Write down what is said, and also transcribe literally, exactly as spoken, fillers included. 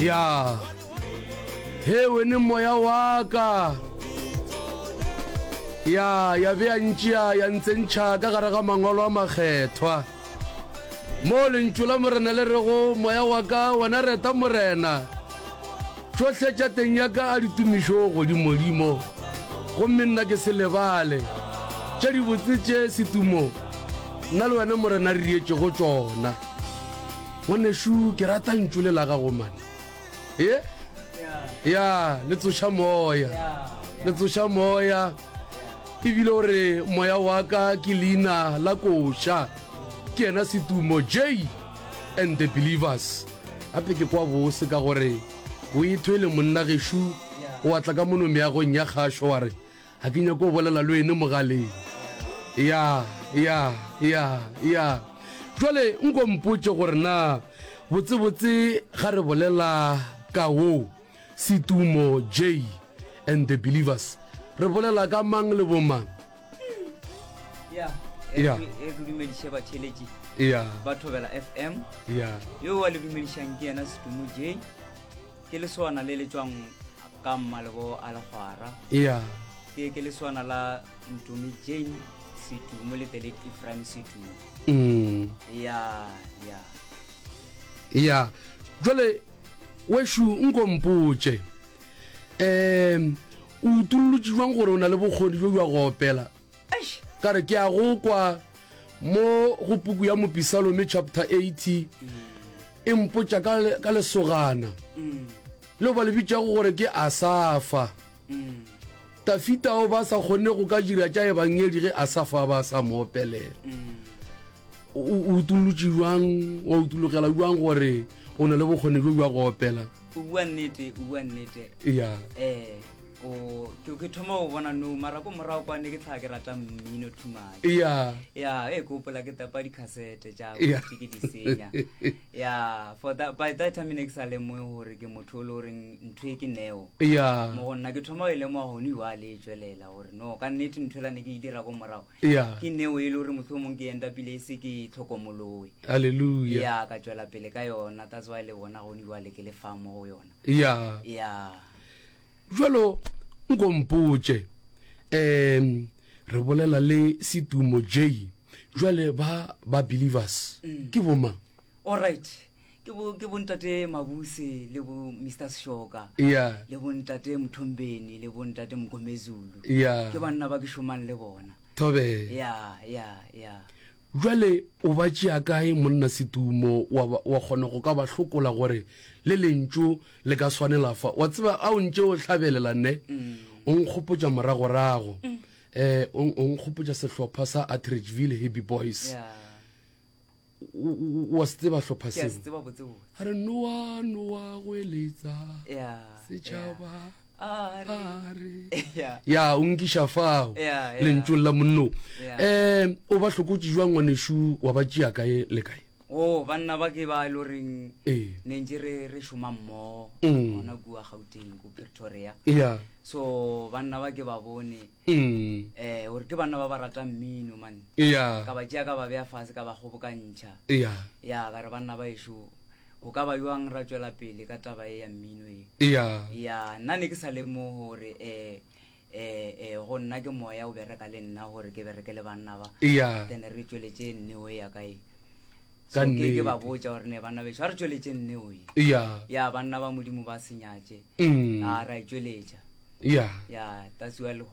Ya. He wene moya wa ka. Ya, ya be ya ntšea ya ntsentšha ka gare ga mangwalo a makgethwa. Mo lentšu la Morena le rego, Moya wa ka, wena reta Morena. Tšohle tša teng ya ka a di tumišo godimodimo, gomme nna ke se lebale tše dibotse tše setumo nna le wena Morena re dietšego tšona. Ngwanešu, ke rata ntšu le la gago mane. Ye? Ya, le tsoša moya. Le tsoša moya. Ebile o re moya wa ka ke leina la koša. Ke yena setumo J and the Believers. Gape ke kwa bose ka gore o e thwele monna gešo o atla ka mono meagong ya kgašo wa re ga ke nyako go bolela le wene mogaleng. Ya, ya, ya, ya. Jwale nko mpotše gore na botsebotse ga re bolela ka wo Setumo J and the Believers re bolela ka mang le bomang? Ya, Ya. e ke dumediše batheeletši Ya, ba Thobela FM. ya. Yo wa le dumedišang ke yena Setumo J. Ke leswana le le tšwang ka mmalebo a legwara. Ya, Ke ke leswana la Ntomi Jane Setumo le the late Ephraim Setumo. mm. Ya, ya. Ya. Jwale wešo nko mpotše um o utollotše jwang gore o na le bokgoni bjo bja go opela? Eish. Ka re ke a go kwa mo go puku ya Mopisalome chapter eighty e mpotša ka, ka lesogana Mm. leo ba le bitšago gore ke Asafa. Mm. Tafita o ba sa kgonne go ka dira tša ebangedi ge Asafa ba sa mo opelela. Mm. O o utollotše jwang, wa utologela jwang gore o na le bokgoni bjo bja go opela? O bua nnete, o bua nnete. Ya. Eh, o ke ke thoma go bona no mara ko morago kwane ke tlhaga ke rata mmino too much. Ya. Ya, e ke gopola ke tapa di-cassette tša Ya. ke di senya. Ya, for that by that time ne ke sa lemoge gore ke motho o le goreng ntho e ke neo. Ya. Mo go nna ke thoma go e lemoga gone jwale e tswelela gore no ka nnete ntho ela ne ke e dira ko morago. Ya. Ke neo e le gore mohlomong ke endapile e se ke e tlhokomoloe. Hallelujah. Ya, ka tswela pele ka yona that's why le bona gone jwale ke le fa mo go yona. Ya. Ya. Jwalo nko mpotše um re bolela le Setumo J jwale ba ba believers Mm. ke bomang? All right. Ke bo ke bontate Mabuse le bo Mister Shoka. Ya. Le bontate Mthombeni le bontate Mgomezulu. Ya. Ke banna ba ke šomang le bona. Thobela. Ya, ya, ya. Jwale o ba tšea kae monna Setumo wa ba- wa kgona go ka ba hlokola gore le lentšu le ka swanela fa? Wa tseba a o ntše o hlabelela ne? Mm. O nkgopotša moragorago. Eh o o nkgopotša sehlopha sa Atteridgeville Happy Boys. Ya. O- o- Wa se tseba hlopha Ke a seo? se tseba botse botse. A re Noa Noa go eletsa Ya. setšhaba A re. a re. Ya. Ya o nkiša fao Ya, ya. lentšung la monno. Ya. Eh o ba hlokotše jwang ngwanešu wa ba tšea kae le kae? Oh, banna ba ke ba e le goreng Ee. ne ntse re re šoma mmogo Mm. gona kua Gauteng ko Pretoria. Ya. So banna ba ke ba bone Mm. eh gore ke banna ba ba ratang mmino man. Ya. Ka ba tšea ka ba beya fase ka ba kgobokantšha. Ya. Ya ka re banna ba ešo go ka ba jwang ra tswela pele ka taba e ya mmino e. Ya. Ya nna ne ke sa lemoge gore eh eh eh go nna ke moya o bereka le nna gore ke bereke le banna ba. Ya. Then re tsweletše nneo ya ka e. Ka So ke ke ba nnete. botša gore ne banna bešo a re tsweletše nneo e. Ya. Ya banna ba modimo ba senyatše. Mm. A ra e tsweletša. Ya. Ya that's why le